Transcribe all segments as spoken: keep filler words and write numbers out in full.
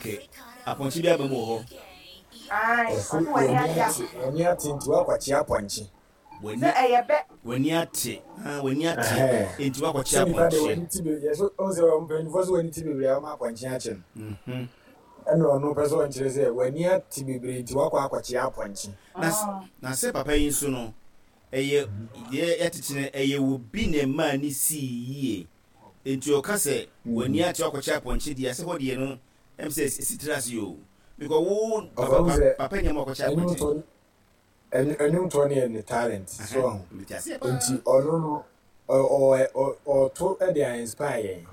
Okay, apɔnkye bi aba mu wɔ hɔ. Ae, Ɔse ɔse w'ani w'ani ate ate, w'ani ate nti woakɔkye apɔnkye. W'ani sɛ ɛyɛ bɛ. W'ani ate, ah, w'ani ate Ɛhɛn. nti woakɔkye Sɛ nipa deɛ apɔnkye. w'ani te bebree, yɛsɛ ɔhu sɛ mpanyinfoɔ sɛ w'ani te bebree a wɔma apɔnkye akye no. Mhm. Ɛna ɔno pɛ sɛ ɔnkyerɛ sɛ w'ani ate bebree nti woakɔ akɔkye apɔnkye. Na s- na sɛ papa yi nso no, ɛyɛ deɛ yɛatete no, ɛyɛ obi na ɛmaa ne sii yie. Nti ɔka sɛ w'ani ate woakɔkye apɔnkye deɛ, sɛ hɔ deɛ no, ɛm sɛ ɛsi tiri ase o. Because wo Ɔfa papa hu pa, sɛ papa nyɛ ma ɔkɔkye apɔnkye. ɛnwomtoɔ ɛn- ɛnwomtoɔ no yɛ ne talent so Aha, ɔho. mete aseɛ paa. Nti ɔno no ɔ- ɔ- ɔ- ɔto de a inspire yɛn.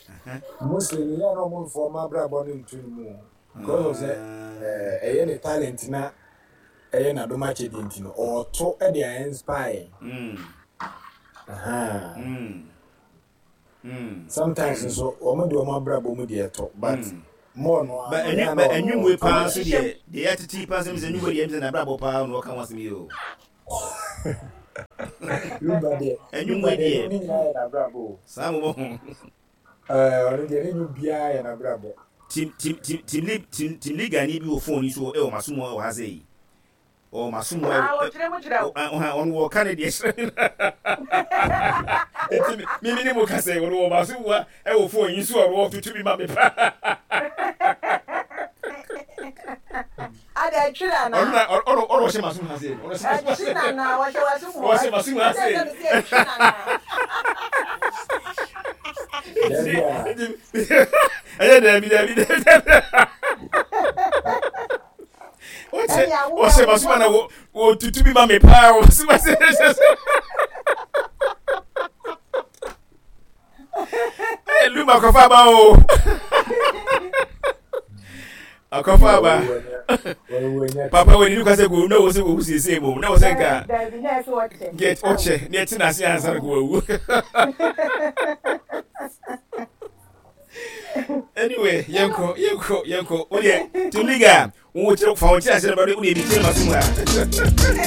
Aha. Mostly no yɛ na ɔmo mfa ɔmo abrabɔ no nto ne mu o. Because of sɛ Ah. ɛɛ, ɛyɛ ne talent na ɛyɛ n'adom akyɛdeɛ nti no ɔto de a inspire yɛn. Mm. Aha. Mm. Mm. Sometimes nso wɔn de wɔn abrabɔ mu deɛ ɛtɔ, but Mm. more no Ba ara no ɛnwi yɛ a ba na ɔno ɛnwumwe ɔto paa de nso a deɛ deɛ yɛatete yi paa nsɛm sɛ ɛnwumwe deɛ ɛm sɛ n'abrabɔ paa na ɔka ho asɛm yi o. Lumba deɛ Lumba Ɛnwumwe deɛ deɛ nnwom no nyinaa yɛ n'abrabɔ o. saa mo bɔ ho. Ɛɛ, ɔno deɛ ne nnwom biara yɛ n'abrabɔ. Team team team team lead team team league ni bi wɔ phone yi so ɛwɔ maso mu wɔ ha sɛ yi. Ɔwɔ maso mu Ah, ɛwɔ wɔkyerɛ mu kyerɛ wo. ɔha ɔno wɔ ka ne deɛ kyerɛ me. Nti mi mi ne mo kasa yi, ɔno wɔ maso mu a ɛwɔ phone yi so a ɔno ɔtoto bi ma me paa. Ada ɛtwi Ɔno nana. na ɔno ɔno ɔhyɛ maso mu ha sɛ ɔno ɔhyɛ maso mu ha Ɛtwi sɛ nana, wɔhyɛ w'aso mu hɔ. ɔhyɛ maso mu ha Ɛsɛ sɛ. sɛ mesi ɛtwi nana. Daabi a Nti ɛyɛ daabi daabi daabi daabi. Ɔhyɛ Ɛne awo ɔhyɛ awo maso mu na awo. wɔ wɔtutu bi ma me paa wɔ maso mu ha sɛ. Hey, Luma akɔfa aba o. Akɔfa aba. Wɔn wɔn Papa wɔ nini kwasɛ ko na wɔ sɛ wɔwu siesie mu na wɔ sɛ nka Daabi, na ɛsɛ wɔkyɛ. get ɔkyɛ ne ɛte n'ase ansa na ko wawu. Anyway, yɛnkɔ yɛnkɔ yɛnkɔ. Wo deɛ team league a wo kyerɛ fa wɔn kyerɛ ase na ba wo deɛ bi kyerɛ ma so mu ha.